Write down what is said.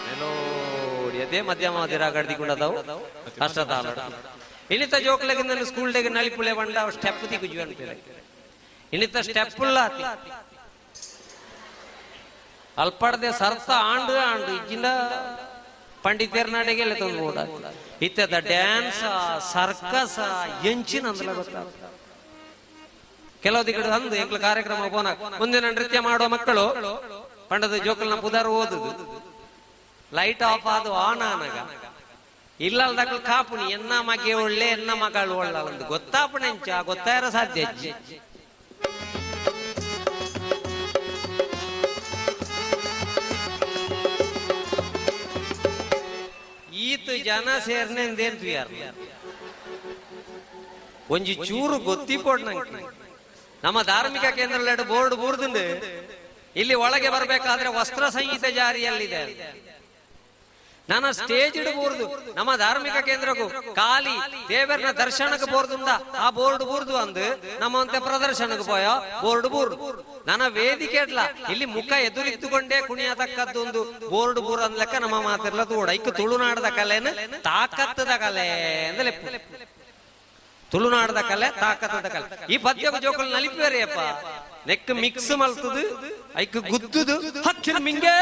Melody ಅದೇ ಮಧ್ಯಮ ರಾಗಡ್ದಿಕೊಂಡದವು ಅಷ್ಟತಾಳ. ಇನಿತ ಜೋಕ್ಲೆಗ್ ಸ್ಕೂಲ್ ಡೇಗೆ ನಲಿಪುಲೆ ಬಂಡ ಸ್ಟೆಪ್ ತಿಕ್ಕು ಅನ್ಪೇರೆ. ಇನಿತ ಸ್ಟೆಪ್ ಉಲ್ಲ ಅಲ್ಪಡದೆ ಸರ್ತ ಆಂಡು ಆಂಡು ಇಜ್ಜಿಂದ ಪಂಡಿತೇರ್ ನಾಡೆಗೆ ತಂದು ಕೂಡ ಇತ್ತದ ಡ್ಯಾನ್ಸ್ ಸರ್ಕಸ್ ಎಂಚಿನ ಅಂದ್ಲ ಗೊತ್ತ. ಕೆಲವು ದಿಕ್ಕಡು ಅಂದು ಎಂಕ್ಲ ಕಾರ್ಯಕ್ರಮ ಪೋನ ಮುಂದಿನ ನೃತ್ಯ ಮಾಡುವ ಮಕ್ಕಳು ಪಂಡದ ಜೋಕಲ್ನ ಪುದಾರು ಓದುದು ಲೈಟ್ ಆಫ್ ಆದು ಆನ್ ಆನಗ ಇಲ್ಲಲ್ದಕ್ಲು ಕಾಪುಣಿ ಎನ್ನ ಮಗೆ ಒಳ್ಳೆ ಎನ್ನ ಮಗಳು ಒಳ್ಳೆ ಒಂದು ಗೊತ್ತಾಪಣೆಂಚ ಗೊತ್ತಾರ ಸಾಧ್ಯ ಅಜ್ಜಿ. ಈತ ಜನ ಸೇರ್ನೆಂದೇನ್ ತುಯಾರ್ ಒಂಜಿ ಚೂರು ಗೊತ್ತಿಪೋಡ್ ನಂಗೆ. ನಮ್ಮ ಧಾರ್ಮಿಕ ಕೇಂದ್ರ ಬೋರ್ಡ್ ಬೂರ್ದುಂಡು, ಇಲ್ಲಿ ಒಳಗೆ ಬರಬೇಕಾದ್ರೆ ವಸ್ತ್ರ ಸಂಹಿತೆ ಜಾರಿಯಲ್ಲಿದೆ. ನನ್ನ ಸ್ಟೇಜ್ ಬೋರ್ದು ನಮ್ಮ ಧಾರ್ಮಿಕ ಕೇಂದ್ರಕ್ಕೂ ಖಾಲಿ ದೇವರನ ದರ್ಶನಕ್ಕೆ ಬೋರ್ದುಂದ ಆ ಬೋರ್ಡ್ ಬೂರ್ದು ಅಂದು ನಮ್ಮಂತೆ ಪ್ರದರ್ಶನಕ್ಕೆ ಪೋಯ ಬೋರ್ಡ್ ಬೂರ್ದು. ನನ್ನ ವೇದಿಕೆ ಇಡ್ಲ ಇಲ್ಲಿ ಮುಖ ಎದುರಿದ್ದುಕೊಂಡೇ ಕುಣಿಯತಕ್ಕದ್ದು ಒಂದು ಬೋರ್ಡ್ ಬೂರ್ ಅಂದ್ಲೆಕ್ಕ ನಮ್ಮ ಮಾತಿರ್ಲ ತೋಡ. ಇಕ್ಕ ತುಳುನಾಡದ ಕಲೆನ ತಾಕತ್ತದ ಕಲೆ ಅಂದ್ರೆ ತುಳುನಾಡದ ಕಲೆ ತಾಕತ್ತದ ಕಲೆ. ಈ ಪದ್ಯಕ್ಕೆ ಜೋಕಲ್ ನಲಿಪೇರಿಯಪ್ಪ ನೆಕ್ ಮಿಕ್ಸ್ ಮಲ್ತದು ಐಕ್ ಗುದ್ದುದು ಹಕ್ಕಿನ ಮಿಂಗೆ.